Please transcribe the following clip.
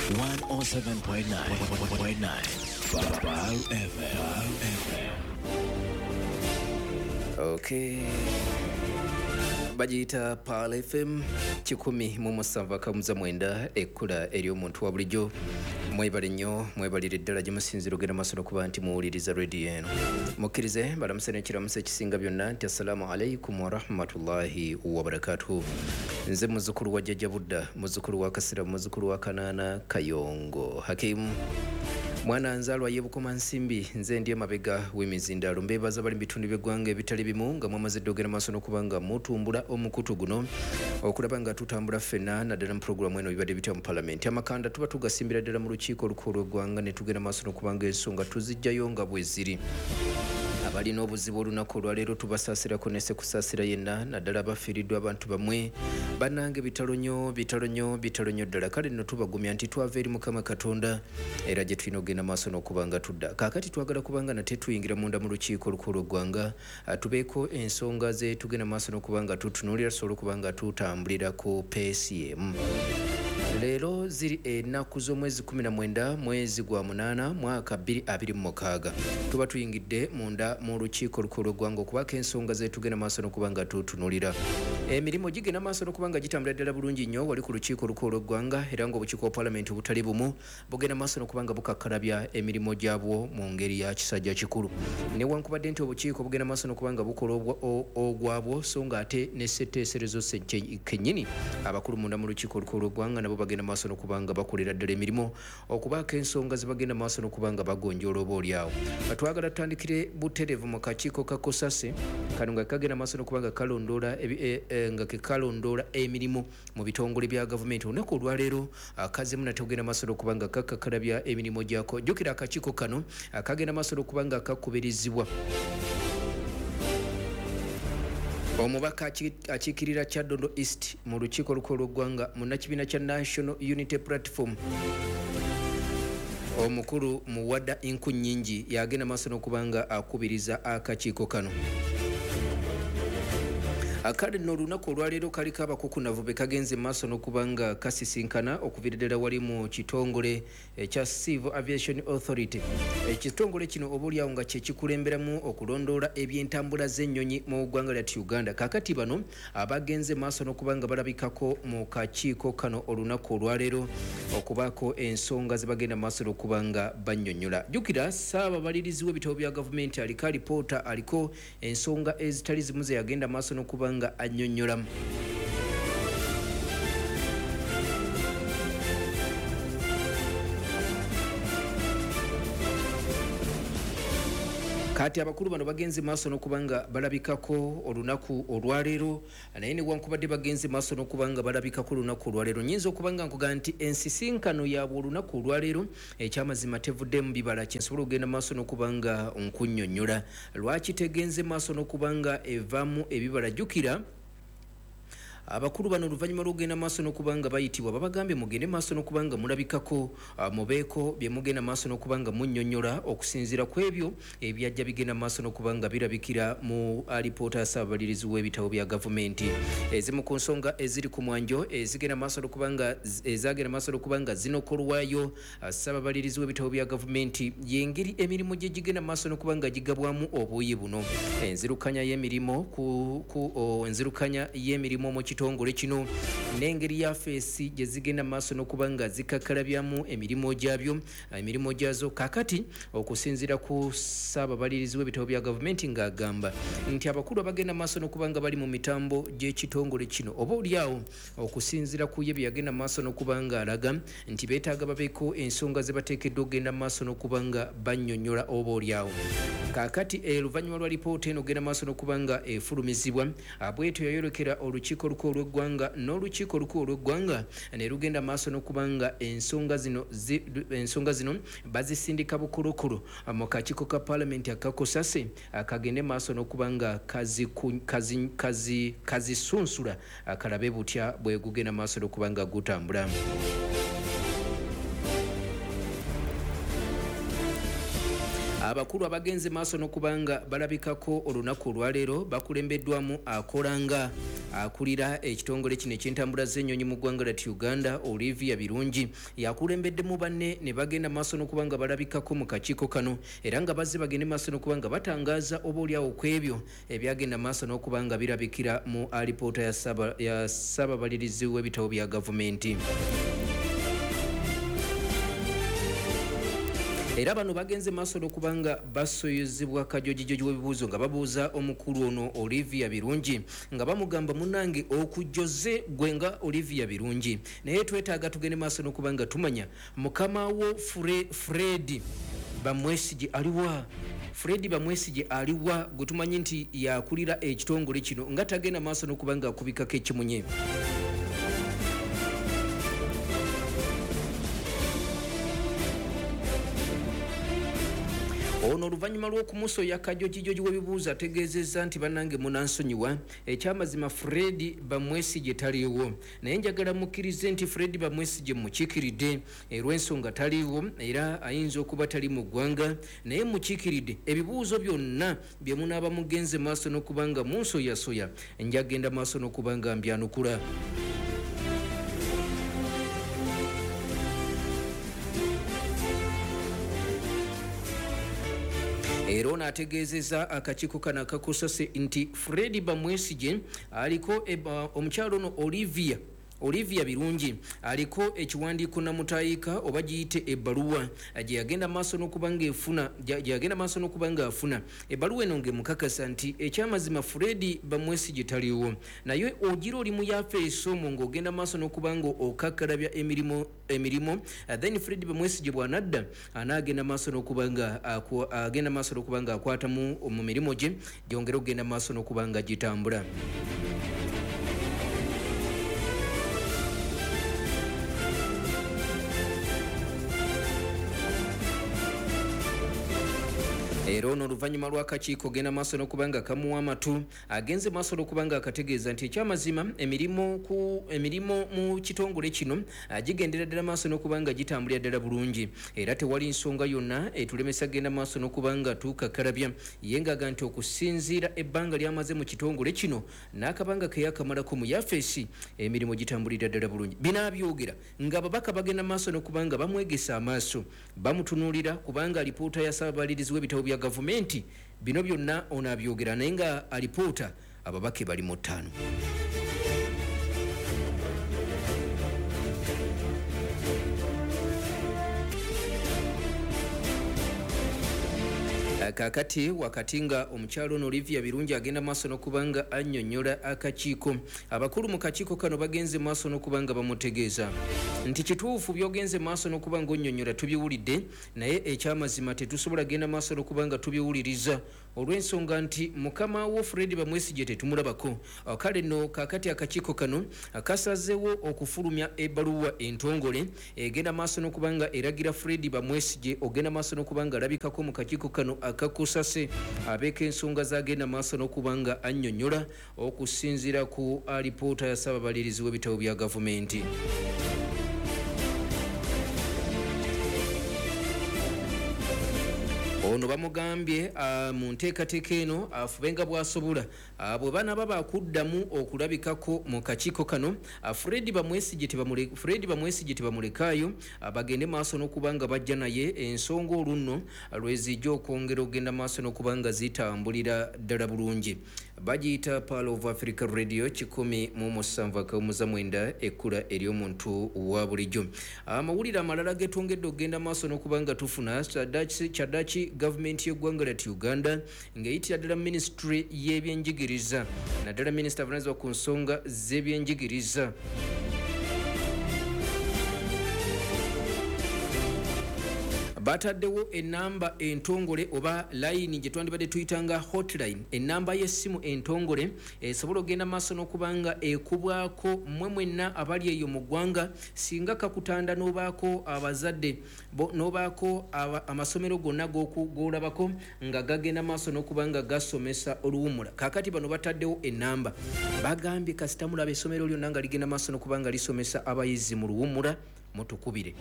107.9 Pearl FM. Okay. Bagiyita Pearl FM 107.9, ekkula ery'omuntu wa bulijjo. Mwebale nnyo, mwebalire ddala gye musinziira ogenda maaso n'okuba nti muwuliriza rediyo eno. Mukkirize balamuse n'ekiramuso ekisinga byonna nti assalaamu alaikum warahmatullahi wabarakatuhu. Nze muzzukulu wa Jjajja Budda, muzzukulu wa Kasira, muzzukulu wa Kanaana Kayongo Hakimu, mwana nzaalwa ye Bukomansimbi. Nze ndi emabega w'emizindaalo. Mbeebaza bali mu bitundu by'eggwanga ebitali bimu nga mwamaze dda ogenda maaso n'okuba nga mutumbula omukutu guno okulaba nga tutambula ffenna, naddala mu pulogulaamu eno bibadde bitya mu palamenti. Amakanda tuba tugasimbira ddala mu lukiiko olukulu lw'eggwanga ne tugenda maaso n'okuba nga ensonga tuziggyayo nga bwe ziri. Abalina obuzibu olunaku olwaleero tubasaasirako ne sekusaasira yenna, naddala abafiiriddwa abantu bamwe. Bannange bitalo nnyo, bitalo nnyo, bitalo nnyo ddala. Kale nno tubagumya nti twava eri Mukama Katonda era gye tulina okugenda maaso n'okuba nga tudda. Kaakati twagala kubanga nate tuyingira munda mu lukiiko olukulu lw'eggwanga, tubeeko ensonga ze tugenda maaso n'okuba nga tutunuulira, tusobole okuba nga tutambulira ku peesi emu. Leero ziri ennaku z'omwezi 19 mwezi gwa 8 mwaka 2026. Tuba tuyingidde munda mu lukiiko olukulu lw'eggwanga okubaako ensonga ze tugenda maaso n'okuba nga tutunuulira. Emirimu gigenda maaso n'okuba nga gitambula ddala bulungi nnyo wali ku lukiiko olukulu lw'eggwanga, era ng'obukiiko bwa palamenti obutali bumu bugenda maaso n'okuba nga bukakkalabya emirimu gyabwo mu ngeri ya kisajja kikulu. Newankubadde nti obukiiko bugenda maaso n'okuba nga bukola ogwabwo, so ng'ate ne ssetteeserezo kennyini abakulu munda mu lukiiko olukulu lw'eggwanga nabo bagenda maaso n'okuba nga bakolera ddala emirimu okubaako ensonga ze bagenda maaso n'okuba nga bagonjoola oba oliawo. Twagala tutandikire butereevu mu kakiiko ka Kosase kano nga kagenda maaso n'okuba nga kalondoola nga kekalondoola emirimu mu bitongole bya gavumenti. Olunaku olwaleero kazzemu nate ogenda maaso n'okuba nga kakakkalabya emirimu gyako. Jjukira akakiiko kano kagenda maaso n'okuba nga kakubirizibwa omubaka akiikirira Kyaddondo East mu lukiiko olukulu lw'eggwanga, munnakibiina kya National Unity Platform, omukulu Muwada Nkunnyingi, yagenda maaso n'okuba nga akubiriza akakiiko kano. Kale nno olunaku olwaleero kaliko abakukunavu be kagenze maaso n'okuba nga kasisinkana okuviira ddala wali mu kitongole ekya Civil Aviation Authority. Ekitongole kino oba oliawo nga kye kikulemberamu okulondoola ebyentambula z'ennyonyi mu ggwanga lyattu Uganda. Kaakati bano abagenze maaso n'okuba nga balabikako mu kakiiko kano olunaku olwaleero okubaako ensonga ze bagenda maaso n'okuba nga bannyonnyola. Jjukira ssaababalirizi w'ebitabo bya gavumenti aliko alipoota, aliko ensonga ezitali zimu ze yagenda maaso n'okuba nga annyonnyolamu. Kati abakulu bano bagenze maaso n'okuba nga balabikako olunaku olwaleero, naye newankubadde bagenze maaso n'okuba nga balabikako olunaku olwaleero, nnyinza okuba nga nkugamba nti ensisinkano yaabwe olunaku olwaleero ekyamazima tevuddemu bibala. Kyensobola okugenda maaso n'okuba nga nkunnyonnyola lwaki tegenze maaso n'okuba nga evaamu ebibala. Jjukira abakulu bano oluvannyuma lw'okugenda maaso n'okuba nga bayitibwa, babagambye mugende maaso n'okuba nga mulabikako, mubeeko bye mugenda maaso n'okuba nga munnyonnyola okusinziira ku ebyo ebyajja bigenda maaso n'okuba nga birabikira mu alipoota ya ssaababalirizi w'ebitabo bya gavumenti. Ezimu ku nsonga eziri ku mwanjo ezigenda maaso n'okuba nga ezagenda maaso n'okuba nga zinokolwayo ssaababalirizi w'ebitabo bya gavumenti y'engeri emirimu gye gigenda maaso n'okuba nga gigabwamu obuuyi buno. Enzirukanya y'emirimu ku enzirukanya y'emirimu mu kitongole kino n'engeri yafeesi gye zigenda maaso n'okuba nga zikakkalabyamu emirimu gyabyo, emirimu gyazo. Kaakati okusinziira ku ssaababalirizi w'ebitabo bya gavumenti ng'agamba nti abakulu abagenda maaso n'okuba nga bali mu mitambo gy'ekitongole kino oba oliawo okusinziira ku ye bye yagenda maaso n'okuba nga alaga nti beetaaga babeeko ensonga ze bateekeddwa okugenda maaso n'okuba nga bannyonnyola oba oliawo. Kaakati oluvannyuma lwa lipoota eno ogenda maaso n'okuba nga efulumizibwa, bwetyo yayolekera olukiiko olukulu olw'eggwanga, n'olukiiko olukulu olw'eggwanga ne lugenda maaso n'okuba nga ensonga zino bazisindika bukulukulu mu kakiiko ka palamenti akakosase kagende maaso n'okuba nga kazisunsula kalabe butya bwe gugenda maaso n'okuba nga gutambula. Abakulu abagenze maaso n'okubanga balabikako olunaku olwaleero bakulembeddwamu akolanga akulira ekitongole kino eky'entambula z'ennyonyi mu ggwanga lya Uganda, Olivia Birungi, yakulembeddemu banne ne bagenda maaso n'okubanga balabikako mu kakiiko kano, era nga bazze bagende maaso n'okubanga batangaaza oba oliawo ku ebyo ebyagenda maaso n'okubanga birabikira mu alipoota ya ssababalirizi w'ebitabo bya gavumenti. Era bano bagenze maaso n'okubanga basoyezebwa kajojijoji w'ebibuuzo nga babuuza omukulu ono Olivia Birungi, nga bamugamba munnange okujjoze gwe nga Olivia Birungi, naye twetaaga tugende maaso n'okubanga tumanya mukama wo Fred Bamwesigye aliwa. Fred Bamwesigye aliwa gwe tumanyi nti yakulira ekitongole kino nga tagenda maaso n'okubanga akubikako ekimunye. Ono oluvannyuma lw'okumusoya kajojijoji w'ebibuuzo ategeezezza nti bannange munansonyiwa, ekyamazima Fred Bamwesigye taliiwo, naye njagala mukkirize nti Fred Bamwesigye mukiikiridde olw'ensonga taliiwo era ayinza okuba tali mu ggwanga, naye mukiikiridde ebibuuzo byonna bye munaaba mugenze maaso n'okuba nga munsoyasoya njagenda maaso n'okuba nga mbyanukula. Era ono ategeezezza akakiiko kano akakusase nti Fred Bamwesigye aliko omukyalo ono Olivia Birungi aliko ekiwandiiko namutayika oba giyite ebbaluwa gye yagenda maaso n'okuba ng'efuna gye yagenda maaso n'okuba ng'afuna ebbaluwa eno ng'emukakasa nti ekyamazima Fred Bamwesigye taliiwo, naye ogira oli mu yafeesi omwo ng'ogenda maaso n'okuba nga okakkalabya emirimu, then Fred Bamwesigye bw'anadda anaagenda maaso n'okuba nga agenda maaso n'okuba nga akwatamu mu mirimu gye gyongere okugenda maaso n'okuba nga gitambula. Era ono oluvannyuma lw'akakiiko genda maaso n'okuba nga kamuwa amatu agenze maaso n'okuba nga akategeeza nti ekyamazima emirimu mu kitongole kino gigendera ddala maaso n'okuba nga gitambulira ddala bulungi, era tewali nsonga yonna etulemesa genda maaso n'okuba nga tukakalabya. Ye ng'aga nti okusinziira ebbanga ly'amaze mu kitongole kino n'akabanga ke yakamalako mu yafeesi emirimu gitambulira ddala bulungi. Bino abyogera ng'ababaka bagenda maaso n'okuba nga bamwegesa amaaso bamutunuulira kubanga alipoota ya ssababalirizi w'ebitabo bya gavumenti bino byonna ono abyogera, naye nga alipoota ababaka bali mu 5. Kaakati wakati nga omukyalo ono Olivia Birungi agenda maaso n'okuba nga annyonnyola akakiiko, abakulu mu kakiiko kano bagenze maaso n'okuba nga bamutegeeza nti kituufu by'ogenze maaso n'okuba nga onnyonnyola tubiwulidde, naye ekyamazima tetusobola genda maaso n'okuba nga tubiwuliriza olw'ensonga nti mukama wo Fred Bamwesigye tetumulabako. Kale nno kaakati akakiiko kano kasazeewo okufulumya ebbaluwa entongole egenda maaso n'okuba nga eragira Fred Bamwesigye ogenda maaso n'okuba nga alabikako mu kakiiko kano akakusase abeeko ensonga z'agenda maaso n'okuba nga annyonnyola okusinziira ku alipoota ya ssababalirizi w'ebitabo bya gavumenti. Ono bamugambye mu nteekateeka eno afube nga bw'asobola bwe banaaba bakuddamu okulabikako mu kakiiko kano Fred Bamwesigye tebamulekaayo, bagende maaso n'okuba nga bajja naye ensonga olunno lwezijja okwongera okugenda maaso n'okuba nga zitambulira ddala bulungi. Bagiyita Pearl of Africa Radio 107.9 ekkula ery'omuntu wa bulijjo. Amawulire amalala getwongedde okugenda maaso n'okuba nga tufuna kyaddaaki gavumenti y'eggwanga lya Uganda ng'eyitira ddala minisitule y'ebyenjigiriza naddala minisita avunaanyizibwa ku nsonga z'ebyenjigiriza bataddewo enamba entongole oba layini gye twandibadde tuyitanga hotline, enamba y'essimu entongole esobola okugenda maaso n'okubanga ekubwako mmwe mwenna abali eyo mu ggwanga singa kakutanda n'obaako abazadde n'obaako amasomero gonna g'olabako nga gagenda maaso n'okubanga gasomesa oluwummula. Kaakati bano bataddewo enamba, bagambye kasita mulaba essomero lyonna nga ligenda maaso n'okubanga lisomesa abayizi mu luwummula mutukubire.